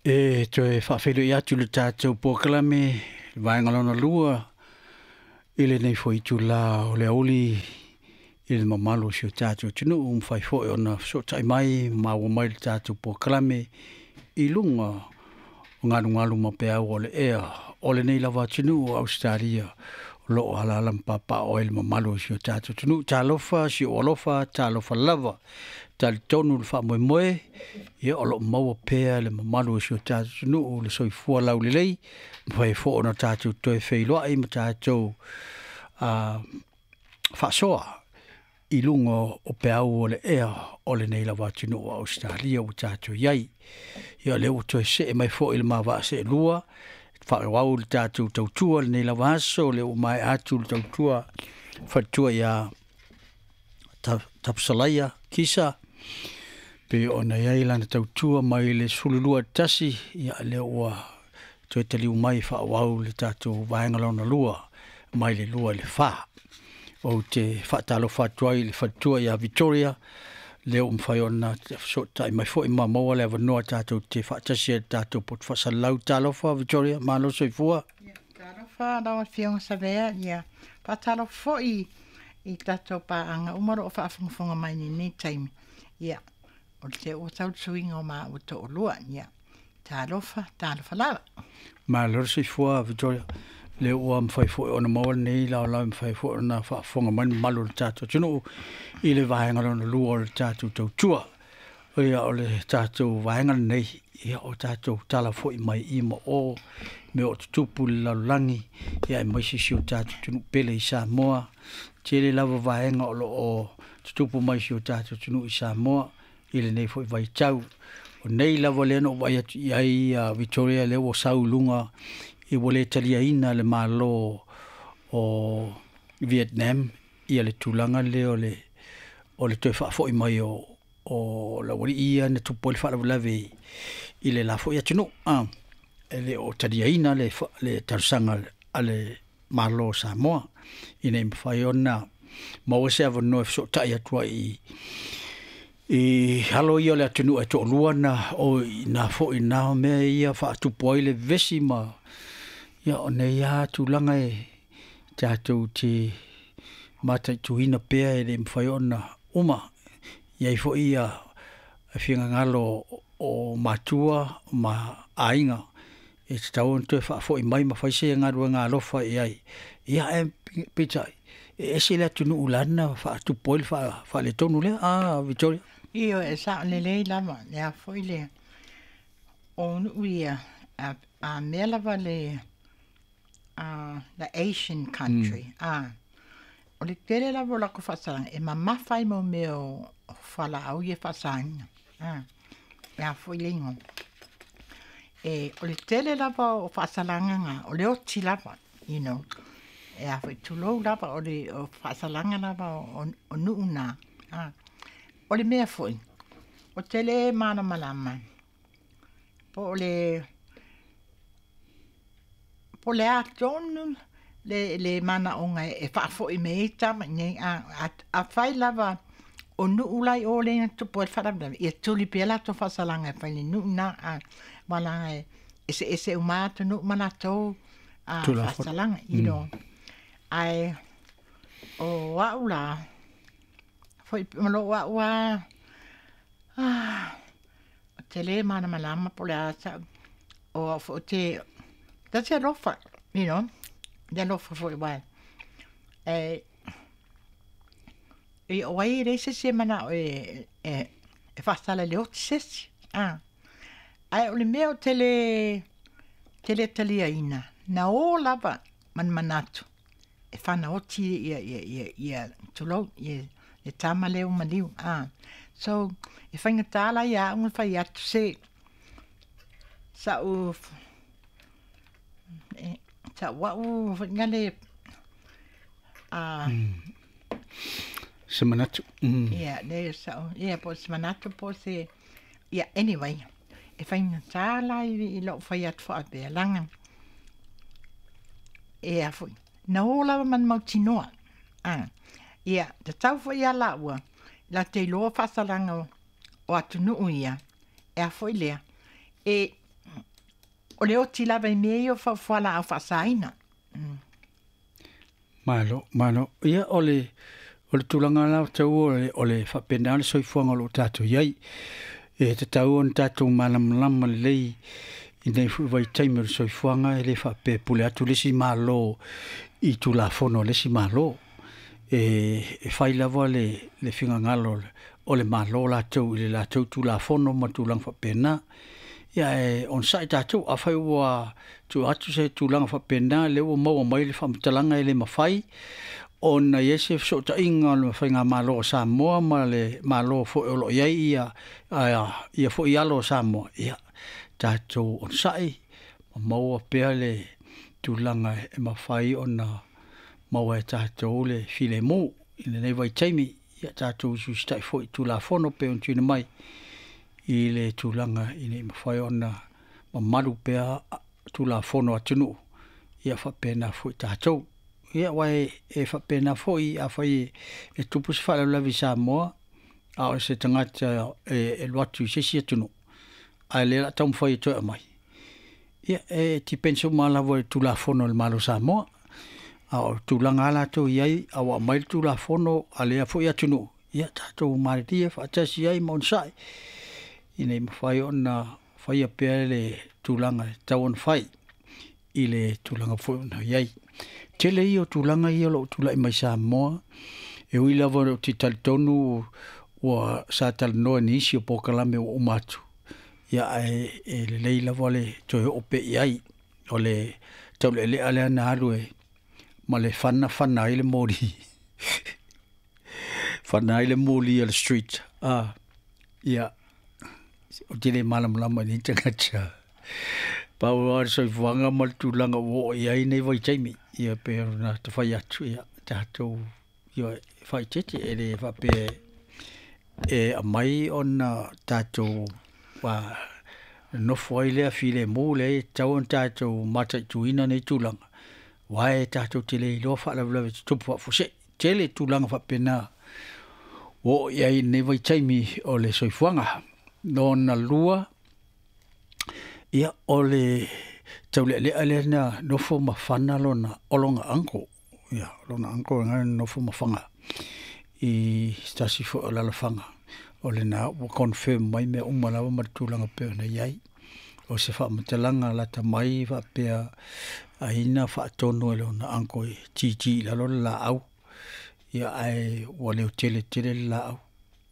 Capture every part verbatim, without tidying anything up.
E toe faafeiloai atu le tatou polokalame vaega lona lua i lenei foi itulā o le aoauli i le mamalu o si o tatou atunuu, ua mafai foi ona fesootai mai ma maua mai le tatou polokalame i luga o galugalu ma peau o le ea o lenei lava atunuu o Ausetalia o lo o alaala ma papaaao ai le mamalu o si o tatou atunuu. Talofa si ou alofa, talofa lava. Talitonu le faamoemoe, ia o lo o maua pea le mamalu o si o tatou atunuu le soifua laulelei, mafai foi ona tatou toe feiloai ma tatou uh, faasoa i luga o peau o le ea o lenei lava atunuu o Ausetalia ua tatou i ai. Ia o lea ua toe see mai foi le ma vaa seelua, faaauau le tatou tautua lenei lava aso, lea ua maea atu le tautua faletua ia Tapusalaia Kisa, pe ona i ai lana tautua mai le sefulu lua tasi, ia lea ua toe taliu mai faaauau le tatou vaega lona lua mai le lua i le fa. Ou te faatalofa atu ai i le faletua ia Victoria, lea ua mafai ona fesootai mai foi ma maua le avanoa tatou te faatasi ai le tatou poto faasalalau. Talofa Victoria, malo soifua. Talofa lau Afioga Savea, ia faatalofa foi i tatou paaga uma o lo o faafogafoga mai i lenei taimi. Ia, o le ua tau le suiga o maua toalua. Ia, talofa, talofa lava. Malo le soifua Victoria. Lea ua mafai foi ona maua lenei laolao e mafai foi ona faafofoga mai le mamalu o le tatou atunuu i le vaega lona lua o le tatou tautua. Ia o le tatou vaega lenei, ia o tatou tala foi mai i ma o mea o tutupu i le lalolagi, ia aemaise si o tatou atunuu pele i Samoa. Tele lava vaega o lo o tutupu mai si o tatou atunuu i Samoa i lenei foi vaitau. O nei lava lea na ou vaai atu i ai uh, Victoria, lea ua sau i luga i ua le taliaina le Malo o Vietnam ia le tulaga lea o le o le toe faafoi mai o o le aualii ia na tupu ai le faalavelave i, i le la foi atunuu. Ah, e le o taliaina le, le talosaga a le Malo o Samoa ina ia mafai ona maua se avanoa e fesootai atu ai i i alo ia o le atunuu e toalua na o i na foi na mea ia faatupu ai le vevesi ma ia o nei lava tulaga e tatou te mataituina pea e le mafai ona uma. I ai foi ia finagalo o matua ma aiga e tatau ona toe faafoi mai ma fai se galuega alofa i ai. Ia ae peitai, e ese le atunuu lana faatupu ai le faaletonu lea, a Victoria? Ioe, e sao lelei lava, le a foi le o nuu ia, a, a mea lava le uh, the Asian country. Mm. Ah, o le tele lava o latou faasalaga, e mamafa ai mo mea o falaau ia faasaina. Ah, e a foi le igoa. E, o le tele lava o faasalaga na, o le oti lava, you know. E a foi tulou lava o le o faasalaga lava o, o nuu na. Ah. O le mea foi, o tele malamalama, po o le po le a tonu le, le manaoga e faafoi me ai tama nei a, a, a fai lava o nuu lai o le na tupu ai le faalavelave, ia tuli pea latou faasalaga e fai le nuu na a malaga e eseese uma atu nuu ma latou a faasalaga, you know. Ae o au la foi ma lou au a ah, o te le malamalama po le a sa o au foi te ta te alofa, you know, te alofa foi wai e e o ai le se se mana e e e faasala le oti sesi ah ae o le mea o te le te le taliaina na o lava manmanatu e fanaoti ia ia ia ia tulou ia le tama lea ua maliu ah so e faigata la ia au ona fai atu se sa'u e sa'u a'u foi le a Se manatu. Mm. Ia le sa'u ia po o se manatu po o se ia anyway e faigata la i lou fai atu faapea laga e a foi na o lava ma le mautinoa a ia tatau foi ia laua la te iloa faasalaga o atunuu ia e a foi lea e O le oti lava i mea ia o fualaau faasaina. Mm. Malo, malo. Ia, o le, o le tulaga la tau o le, o le faapena le soifuaga o loo tatou iai. E tatau ona tatou malamalama lelei i nei foi vaitaimi o le soifuaga, e le faapea pule atu le isi Malo i Tulafono a le isi Malo. E, e fai lava le, le finagalo o le Malo latou i le latou Tulafono ma tulaga faapena. Ia e onosai tatou, afai ua tuu atu se tulaga faapena, lea ua maua mai le faamatalaga e le mafai ona i ai se fesootaiga o le Faigamalo o Samoa ma le Malo foi o loo i ai ia, ia foi alo o Samoa. Ia tatou onosai ma maua pea le tulaga e mafai ona maua e tatou le filemu i lenei vaitaimi. Ia tatou usiusitai foi i Tulafono pe ona tuuina mai i le tulaga ina ia mafai ona mamalu pea Tulafono atunuu, ia faapena foi tatou. Ia aua e faapena foi afai e tupu se faalavelave i Samoa, a o se tagata e alu atu i se isi atunuu, ae lea o le a taumafai e toe aumai. Ia e depends uma lava i le Tulafono a le Malo o Samoa. A o tulaga lava latou i ai, a ua aumai le Tulafono a lea foi atunuu, ia tatou malilie faatasi ai ma onosai, ina ia mafai ona faia pea le tulaga e tatau ona fai i le tulaga foi ona i ai. Tele ia o tulaga ia o loo tulai mai Samoa, e ui lava ou te talitonu ua sa talanoa i nisi o polokalame ua uma atu, ia ae e lelei lava le toe oo pea i ai. O le taulealea lea na alu e ma le fana fana ai le moli. Fana ai le moli o le street. Ah, ia, ou te le malamalama i nei tagata. Pau lava le soifuaga ma le tulaga ua oo i ai nei vaitaimi. Ia pei ona tafai atu, ia tatou ia faaeteete e le faapea e aumai ona tatou nofo ai lea filemu lea e tatau ona tatou mataituina nei tulaga, aua e tatou te le iloa faalavelave e tutupu faafuasei. Tele tulaga faapena ua oo i ai i lenei vaitaimi o le soifuaga. Lona lua, ia o le taulealea lea na nofo ma fana lona, o lona uncle. Ia, lona uncle lena na nofo ma faga i se tasi foi o alaalafaga. O lena ua confirm mai mea uma lava ma le tulaga pei ona i ai. O se faamatalaga lata mai faapea ai na faatonu e lona uncle e titi i lalo le laau. Ia ae ua leotele tele le laau.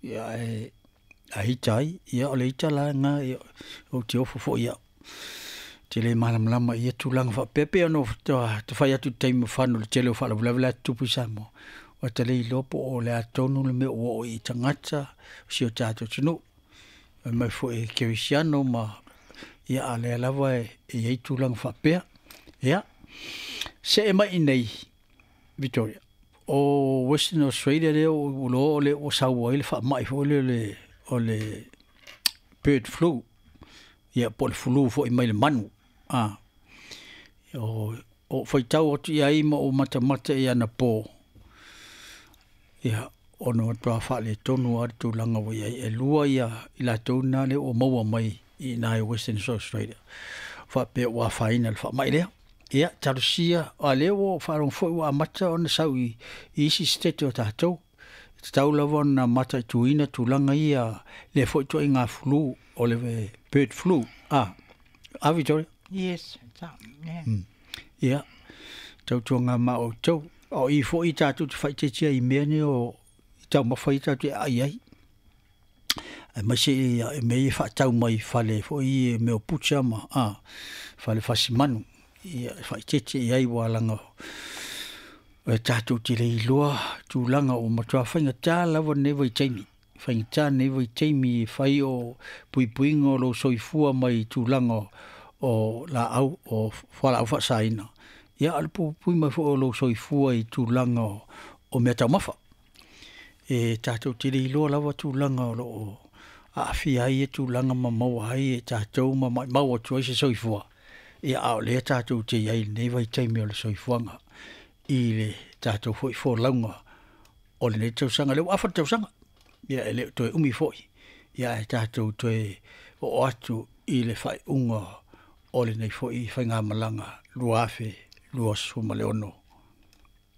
Ia ae a ita ai, ia o le ita la lena, ia ou te ofo foi au. Te le malamalama i ia tulaga faapea, pei ona tafai atu i le taimi mafana o le tele o faalavelave la e tutupu i Samoa. Ua ta le iloa po o le a tonu le mea ua oo i tagata o si o tatou atunuu. Fai mai foi e kerisiano ma ia a lea lava e i ai tulaga faapea. Ia, see mai i nei, Victoria, o Western Australia lea ua iloa o lea ua sau ai le faamai foi lea o le bird flu, ia po o le flu foi mai le manu. A, o ou faitau atu i ai ma ou matamata i anapo, ia, ona matua faaletonu lava le tulaga ua i ai. E lua ia i latou na lea ua maua mai i ina i Western Australia, faapea ua afaina i le faamai lea. Ia, talosia, a lea ua ou faalogo foi ua amata ona sau i isi state o tatou. E tatau lava ona mataituina tulaga ia, lea foi ituaiga flu o le bird flu. A, a Victoria? Yes, yeah. Mm. Ia, tautuaga ma outou. O i foi tatou te faaeteetea i mea nei o i taumafa ia tatou te aai ai. Aemaise i mea ia e faatau mai i fale foi i mea o butcher ma a, fale fasimanu. Ia e faaeteete i ai ua laga e tatou te le iloa tulaga ua matua faigata lava lenei vaitaimi. Faigata lenei vaitaimi e fai o puipuiga o lou soifua mai tulaga o laau o fualaau faasaina. Ia a o le puipui mai foi o lou soifua i tulaga o, o mea taumafa. E tatou te le iloa lava tulaga o loo aafia ai ia tulaga ma maua ai e tatou ma maimau atu ai se soifua. Ia a o lea tatou te i ai i lenei vaitaimi o le soifuaga i le tatou foi folauga o lenei tausaga. Lea ua afa le tausaga, ia e le o toe umi foi, ia ae tatou toe oo atu i le faaiuga O lenei fo'i faigamalaga lua afe luasefulu ma le ono.